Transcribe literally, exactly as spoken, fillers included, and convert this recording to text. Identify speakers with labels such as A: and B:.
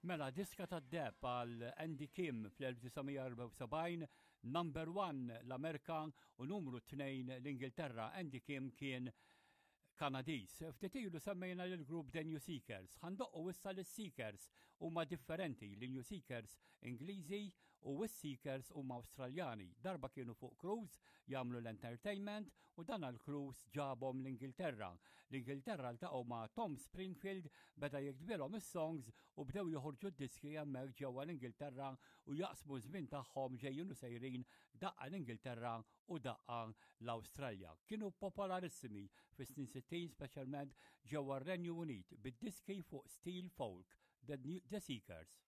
A: Mela, diska tad-deheb għal Andy Kim fl-elf disa' mija erbgħa u sebgħin, number one l-Amerika u numru tnejn l-Ingilterra. Andy Kim kien Kanadis. Ftit ilu semmejna l-grupp The New Seekers. Ħa ndoqqu issa l-Seekers huma differenti. L-New Seekers Ingliżi u s-Seekers huma Awstraljani. Darba kienu fuq cruise jagħmlu l-entertainment u dan għal-cruise ġabhom l-Ingilterra. L-Ingilterra ltaqgħu ma' Tom Springfield, beda jiktbilhom is-songs u bdew joħorġu d-diski hemmhekk ġewwa l-Ingilterra u jaqsmu żmien tagħhom ġejjin u sejrin, daqqa l-Ingilterra u daqqa l-Awstralja. Kienu popolarissimi fis-snin sittin, speċjalment ġewwa r-Renju Unit, bid-diski fuq stil folk, The, New, The Seekers.